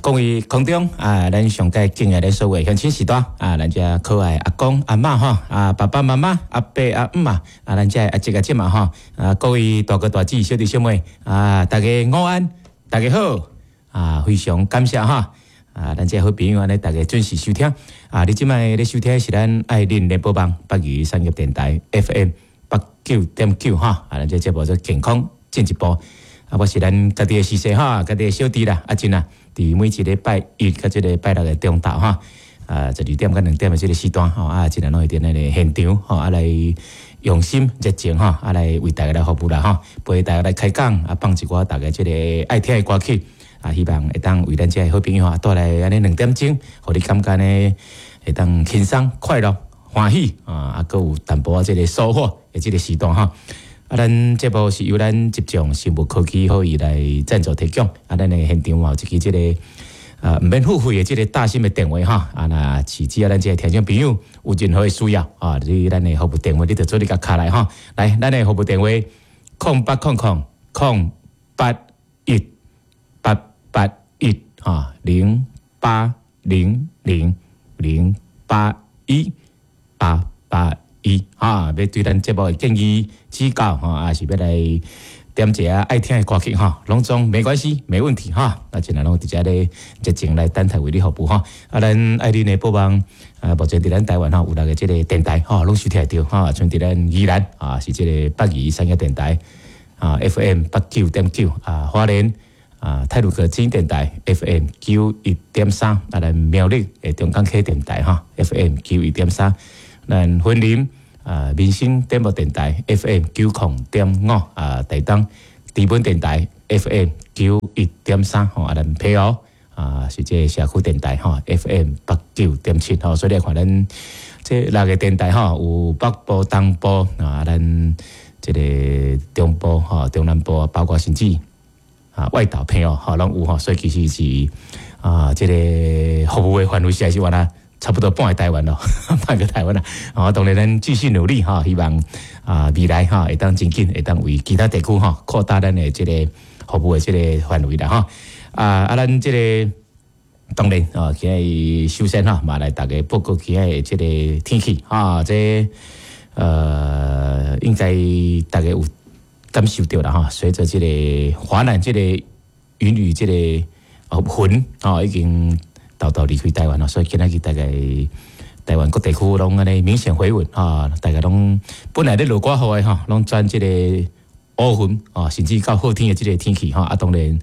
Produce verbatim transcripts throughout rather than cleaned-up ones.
各位空中啊，咱上蓋敬愛的所有鄉親序大啊，咱遮可愛阿公阿嬤吼，啊爸爸媽媽阿伯阿姆啊，啊咱遮阿叔阿姐嘛吼，啊各位大哥大姊小弟小妹啊，大家午安，大家好，啊非常感謝哈，啊咱遮好朋友按呢，大家準時收聽，啊你這擺咧收聽的是咱愛鄰聯播網北宜產業電台 F M 八九點九哈，啊咱這節目做健康進一步。啊，我是咱家己的師兄哈，家己的小弟啦，阿珍啊，佇每一禮拜一佮這個拜六的中晝哈，啊，十二點到兩點的這個時段吼，啊，盡量攏會佇咱的現場吼，啊來用心熱情吼，啊來為大家來服務啦吼，陪大家來開講，啊放一寡大家這個愛聽的歌曲，啊，希望會當為咱這个好朋友啊帶來按呢兩點鐘，予你感覺呢會當輕鬆快樂歡喜啊，啊，閣有淡薄仔這個收穫的這個時段吼。啊，咱節目是由咱集眾生物科技予伊來贊助提供。啊，咱的現場嘛有一支這個啊，毋免付費的這個大心的電話哈。啊，若是只要咱這個聽眾朋友有任何的需要啊，你咱的服務電話你就做你共敲來哈。來，咱的服務電話空八空空空八一八八一哈零八零零零八一八八一哈，欲對咱節目的建議指教吼，抑是欲來點一下愛聽的歌曲吼，攏總沒關係，沒問題哈。啊，盡量攏佇遮咧熱情來等待為你服務哈。啊，咱愛鄰的播網啊，目前佇咱台灣吼有六個這個電台吼，攏收聽得著哈。像佇咱宜蘭啊，是這個北宜產業電台啊，F M 八九點九啊，花蓮啊太魯閣之音電台 F M 九一點三，啊，咱苗栗的中港溪電台哈，F M 九一點三。咱雲林啊，民生點播電台 F M 九零點五啊，台東知本電台 F M 九一點三吼，啊，咱澎湖啊是這個社區電台吼，F M 八九點七吼，所以你看咱這六個電台吼，有北部、東部啊，咱這個中部吼、中南部，包括甚至啊外島澎湖吼，攏有吼，所以其實是啊，這個服務的範圍實在是原來差不多半個台灣咯，半個台灣啦。啊，當然咱繼續努力哈，希望啊未來哈會當真緊會當為其他地區哈擴大咱的這個服務的這個範圍啦哈。啊啊，咱這個當然啊，今日首先哈，嘛來大家報告今日這個天氣哈，這呃應該大家有感受著啦哈。隨著這個華南這個雲雨這個雲啊已經沓沓離開台灣咯，所以今仔日大概台灣各地區攏按呢明顯回穩啊！大家攏本來咧落寡雨的吼，攏轉這個烏雲啊，甚至到好天的這個天氣吼啊，當然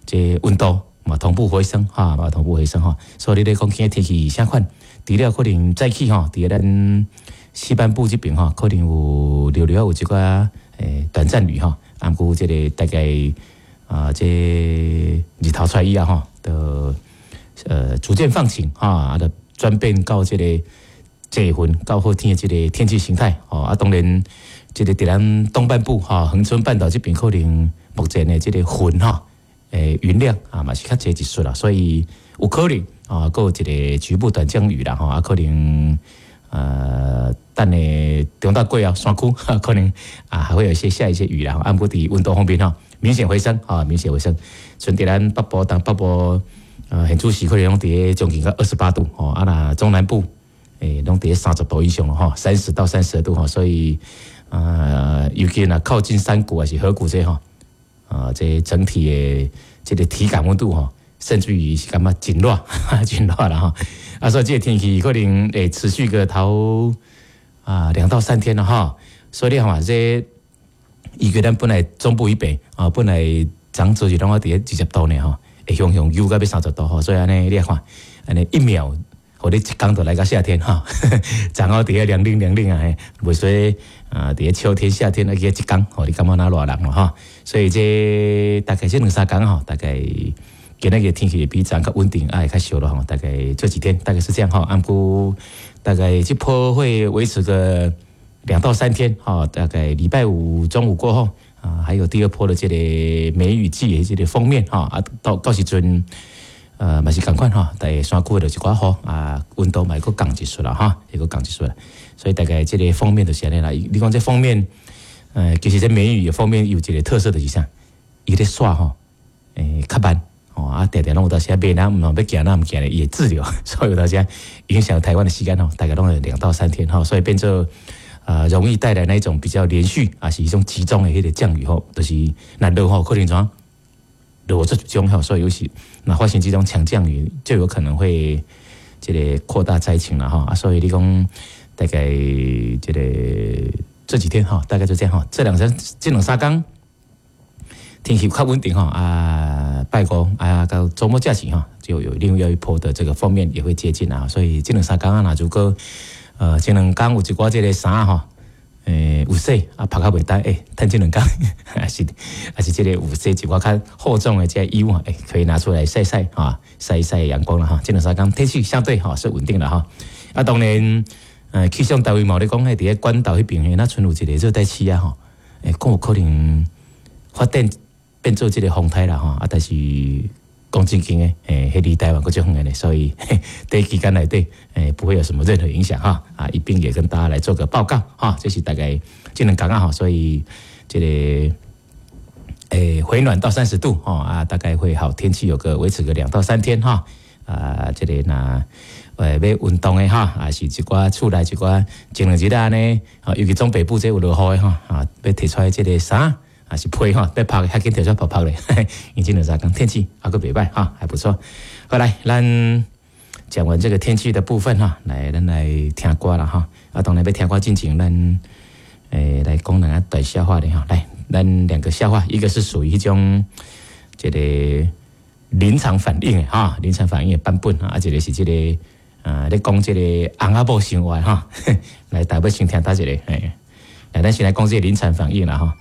這溫度嘛同步回升哈，嘛同步回升吼。所以你咧講今日天氣啥款？除了可能早起吼，佇咱西半部這邊吼，可能有略略有一寡誒短暫雨吼，啊，毋過這個大概啊，這日頭出來以後吼，就呃，逐漸放晴哈，啊，就轉變到這個濟雲到好天的這個天氣形態吼，啊，當然，這個佇咱東半部哈，恆春半島這邊可能目前的這個雲哈，誒雲量啊嘛是較濟一絲啦，所以有可能啊，閣有一個局部短降雨啦吼，啊，可能呃，等下中晝過後山區可能啊還會有一些下一些雨啦，啊，毋過佇溫度方面吼，明顯回升啊，明顯回升，像佇咱北部、東北部。呃，縣主市可能攏佇咧將近到二十八度吼，啊若中南部誒攏佇咧三十度以上咯吼，三十到三十二度吼，所以呃，尤其若靠近山谷還是河谷這吼，啊，這整體的這個體感溫度吼，甚至於是感覺真熱，真熱啦吼。啊，所以這個天氣可能會持續個頭啊兩到三天了哈。所以你看這伊個咱本來中部以北啊，本來漲做是攏佇咧二十度呢吼，會雄雄又到欲三十度吼，所以按呢你看，按呢一秒，予你一工就來到夏天哈，昨昏佇咧涼冷涼冷啊，袂說啊，佇咧秋天夏天啊，去一工，予你感覺若熱人咯哈。所以這大概這兩三工吼，大概今仔日天氣會比昨較穩定，啊會較燒咯吼。大概這幾天大概是這樣吼，啊毋過大概這波會維持個兩到三天哈，大概禮拜五中午過後啊，還有第二波的這個梅雨季的這個鋒面哈，啊到到時陣。呃，嘛是仝款吼，但是山區就一寡雨啊，溫度嘛會閣降一絲啦，哈，會閣降一絲啦。所以大概這個鋒面就是按呢啦。你講這鋒面，呃，其實這梅雨的鋒面有一個特色就是啥？伊咧徙吼，欸，較慢，吼啊，定定攏有當時欲若毋欲行若毋行咧，伊會滯留，所以有當時影響台灣的時間吼，大概攏會兩到三天吼，所以變做呃容易帶來那一種比較連續啊，是一種集中的彼個降雨吼，就是若落雨可能怎落足集中吼，所以有時若發生這種強降雨，就有可能會這個擴大災情啦吼啊，所以你講大概這個這幾天吼，大概就這樣吼，這兩天這兩三工天氣較穩定吼啊，拜五啊到週末假期吼，就有另外一波的這個鋒面也會接近啊，所以這兩三工啊，若如果呃這兩工有一寡這個衫吼，欸有洗啊，曝較袂焦，欸，趁這兩工還是還是這個有洗一寡較厚重的這個衣物，欸，可以拿出來曬曬哈，曬一曬陽光啦哈。這兩三工天氣相對吼是穩定的哈。啊，當然，呃，氣象單位嘛咧講，彼佇咧關島彼邊，若賰有一個熱帶氣壓吼，欸，講有可能發展變做這個風颱啦吼。啊，但是講正經的，欸，彼離台灣閣足遠的咧，所以短期間內底，欸，不會有什麼任何影響哈。啊，一併也跟大家來做個報告哈。這是大概這兩工啊吼，所以這個欸回暖到三十度吼啊，大概會好天氣有個維持個兩到三天哈。啊，這個若呃欲運動的哈，啊是一寡厝內一寡前兩日按呢，尤其中北部這有落雨的吼，啊欲提出來這個衫。啊是被吼，欲曝較緊提出來曝曝咧，因為這兩三工天氣猶閣袂䆀哈，還不錯。好來，咱講完這個天氣的部分哈，來咱來聽歌啦哈。啊，當然欲聽歌進前，咱欸來講兩個短笑話咧哈。來，咱兩個笑話，一個是屬於彼種這個臨場反應的哈，臨場反應的版本啊，一個是這個啊，咧講這個翁仔某生活哈。來，大家欲先聽佗一個？嘿，來，咱先來講這個臨場反應啦哈。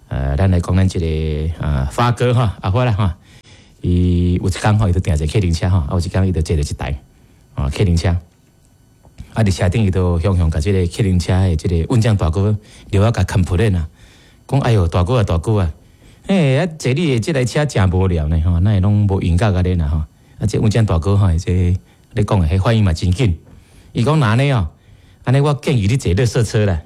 呃，咱來講咱這個啊發哥哈，阿發啦哈，伊有一工吼，伊就訂一個客人車吼，啊有一工伊就坐著一台啊客人車，啊佇車頂伊就雄雄共這個客人車的這個運將大哥著愛共 complain 啊，講哎喲大哥啊大哥啊，欸啊坐你的這台車誠無聊呢吼，哪會攏無音樂按呢啦吼，啊這運將大哥吼，這咧講的彼反應嘛真緊，伊講若按呢哦，按呢我建議你坐垃圾車啦。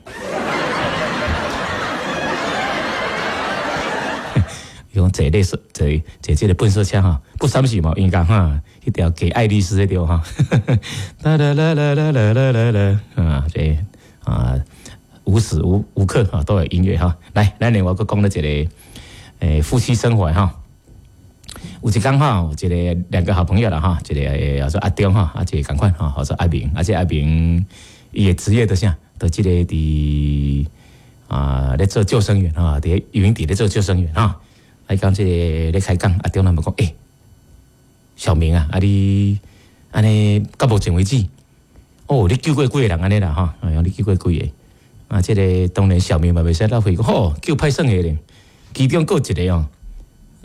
伊講坐垃圾坐坐這個糞掃車吼，不三是嘛應該哈，彼條給愛麗絲彼條哈，啦啦啦啦啦啦啦啦啊，這啊無時無無刻哈都有音樂哈。來，咱另外閣講了一個欸夫妻生活哈，有一工哈，有一個兩個好朋友啦哈，一個叫做阿中哈，啊一個仝款哈，叫做阿明，啊這阿明伊的職業就是啥，就這個佇啊咧做救生員哈，佇游泳池咧做救生員哈。啊！伊講這個咧開講，阿中人就講，欸，小明啊，啊你按呢到目前為止，哦，你救過幾個人按呢啦吼？哎喲，你救過幾個？啊，這個當然小明嘛袂使浪費，講吼救歹耍的咧，其中閣有一個哦，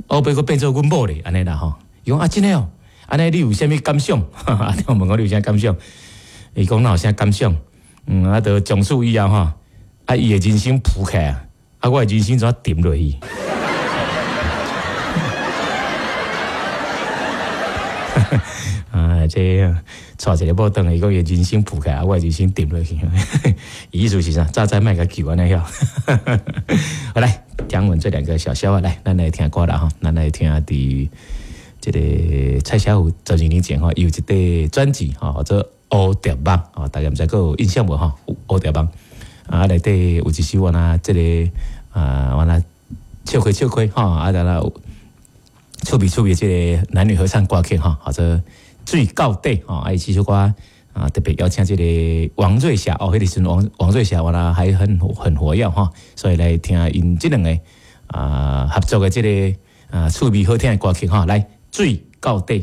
後尾閣變做阮某咧，按呢啦吼。伊講啊，真的哦，按呢你有啥物感想？阿中問我你有啥感想？伊講哪有啥感想？嗯，啊，就從此以後吼，啊，伊的人生浮起來啊，啊，我的人生怎沉落去？啊，這娶一個某轉來，伊講伊人生浮起來，我人生沉落去。意思是啥？早知莫共救按呢曉。好來，講完這兩個小笑話，來，咱來聽歌啦吼，咱來聽佇這個蔡小虎十二年前吼，伊有一塊專輯吼，叫做《烏蝶夢》吼，大家毋知閣有印象無吼？烏蝶夢啊，內底有一首我若這個啊，我若笑開笑開吼，啊，然後趣味趣味這個男女合唱歌曲吼，叫做《水到底》吼，啊，伊這首歌啊，特別邀請這個王瑞霞哦，彼個時陣王王瑞霞原來還很很活躍吼，所以來聽𪜶這兩個啊合作的這個啊趣味好聽的歌曲吼，來《水到底》。